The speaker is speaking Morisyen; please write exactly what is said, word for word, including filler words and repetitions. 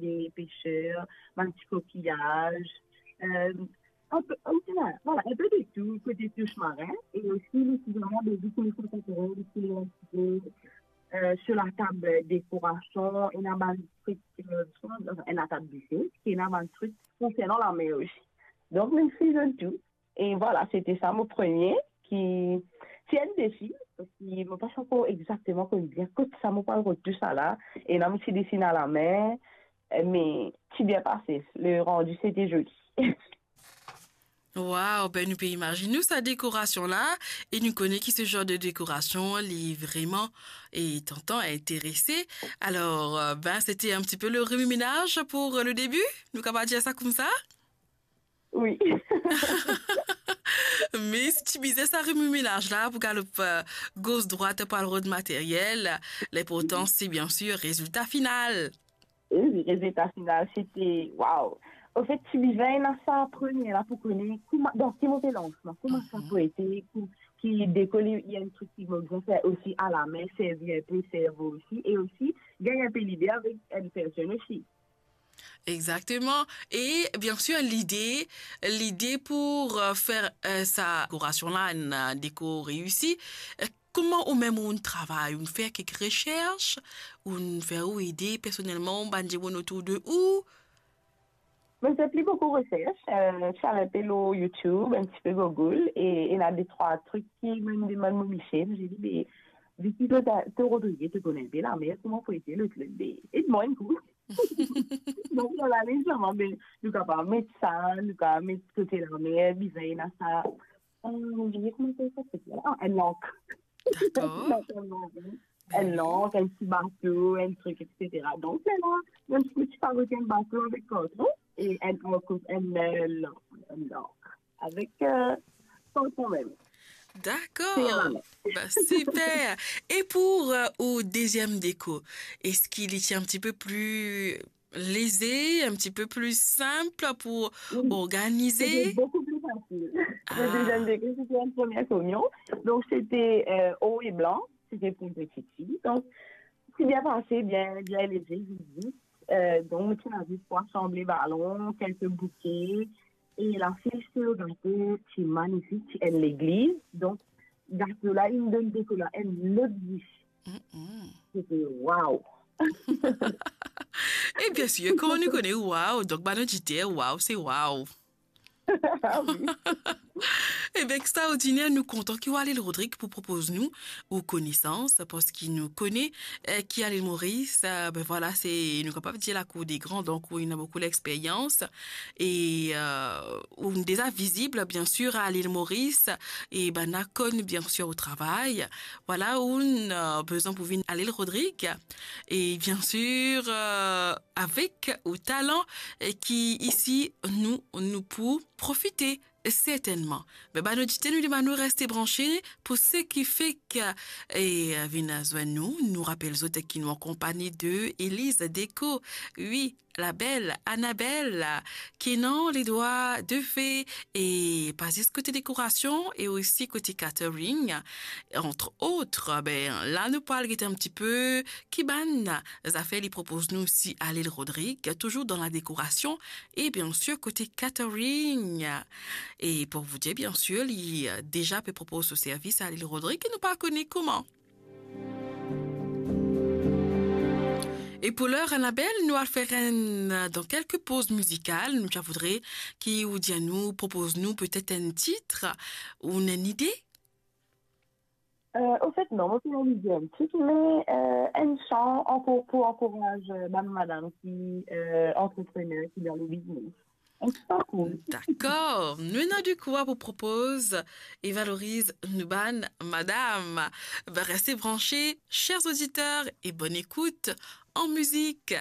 de peser, bann ti kokiyaz, euh, un peu, un peu, voilà, un peu de tout, côté touche marin, et aussi, nous, c'est vraiment des outils contemporains, qui sont un petit peu, euh, sur la table décoration, et dans un truc, euh, enfin, la table buffet, qui est dans un truc concernant la mer aussi. Donc, nous faisons tout. E vwala, sete sa mo premie ki ti enn defi, parski mo pa ti ankor exakteman konn bien kot sa mo pou al rod tousala, e la mo ti desin a lame, me ti bien pase, le randi sete zoli. Wow, ben nou pe imazinn nou sa dekorasion la, e nou kone ki se zar de dekorasion li vreman e tantan, interese. Alor, euh, ben sete un petit peu le remue-ménage pour le début, nou kapav dir sa koumsa? Wi. Me si ti bizin sa remue-ménage la pou galop euh, gos drwat pou al rod materyel, linportan se bien sir rezilta final. Wi, rezilta final, sete, waw. Anfet, ti bizin ena sa premie la pou kone kouma, dan ki mo pe lans mwa, kouma sa pou ete, kou-, ki deko li, li enn trik ki mo bizin fer osi a lame, servi enpe servo osi, e osi gagn enpe lide avek enn personn osi. Exactement. Et bien sûr, l'idée, l'idée pour euh, faire euh, sa décoration-là, une euh, déco réussie, euh, comment ou même on travaille, on fait quelques recherches, on fait ou aider personnellement, bann dimoun autour de ou. Mo fer pli boukou resers, euh, ti al enpe lor YouTube, enn tipe Google, e ena de trwa trik ki mo demann mo misier, mo dir li, be, vi ki to, to Rodrigue, to konn enpe lame, kouma pou ete lot, lot, be, ed mwa enn kou. Donk, nou al ale, zame, be, nou kapav met sa, nou kapav met kote lame, bizin ena sa. Euh, mo bliye kouma sa, sa, sa, ah, enn lank. D'accord. Enn lank, enn ti bato, enn trik, et cetera. Donk, la, mem si ti fabrik enn bato avek karton, e enn lank, enn, euh, lank, enn lank. Avek, euh, karton mem. D'accord. Bah, super. Et pour euh, au deuxième déco, est-ce qu'il est un petit peu plus léger, un petit peu plus simple pour Oui. organiser? C'était beaucoup plus facile. Ah. Le deuxième degré, c'était une première communion. Donc, c'était euh, haut et blanc. C'était pour une petite fille. Donc, c'est bien passé, bien, bien léger, vite, vite. Euh, donc, tu as juste pour assembler ballon, quelques bouquets. Et la fille, c'est le gâteau, c'est magnifique, c'est une église. Donc, gato la, inn donn dekola enn lot vi. Mm-mm. C'était waouh. E bien sir, kouma nou kone waw, donk bann oditer, waw, se waw. Ah oui. Ebien, extraordiner, nou kontan ki ou ale Lil Rodrig pou propoz nou ou konesans, parski nou kone eh, ki a Lil Moris, eh, ben vwala, se, nou kapav dir lakour de gran, donk ou ena boukou lexperyans, e eh, ou deza vizib, bien sir, a Lil Moris, e bann la konn, bien sir, ou travay. Vwala, ou eh, bizin pou vinn a Lil Rodrig, e bien sir, eh, avek ou talan eh, ki isi nou, nou pou profite sertennman. Me bann oditer, nou demann ou reste branche pou seki fek e vinn zwenn nou. Nou rapel zot ki nou an konpagni de Elise Deco. Wi, la belle Annabelle, ki ena les doigts de fée e pa zis kote dekorasion e osi kote catering, entre autres. Ben, la nou pou al gete un petit peu ki bann zafer li propoz nou osi a Lil Rodrig, toujours dans la décoration, et bien sûr côté catering. Et pour vous dire, bien sûr, li deza pe propoz so servis a Lil Rodrig, nou pa kone kouma. E pou ler, Annabelle, nou al fer enn, dan kelke poz mizikal, nou ti voudre ki ou dir nou, propoz nou petet enn tit ou enn ide. Euh, au fait, non, mo pa ena ide enn tit, me euh, enn san ankor pou ankouraz euh, bann madam ki euh, antreprener, ki dan le biznes. Enn ti pa cool. Dakor. Nou ena de koup pou propoz e valoriz nou bann madam. Ben, reste branche, chers auditeurs, et bonne écoute en musique.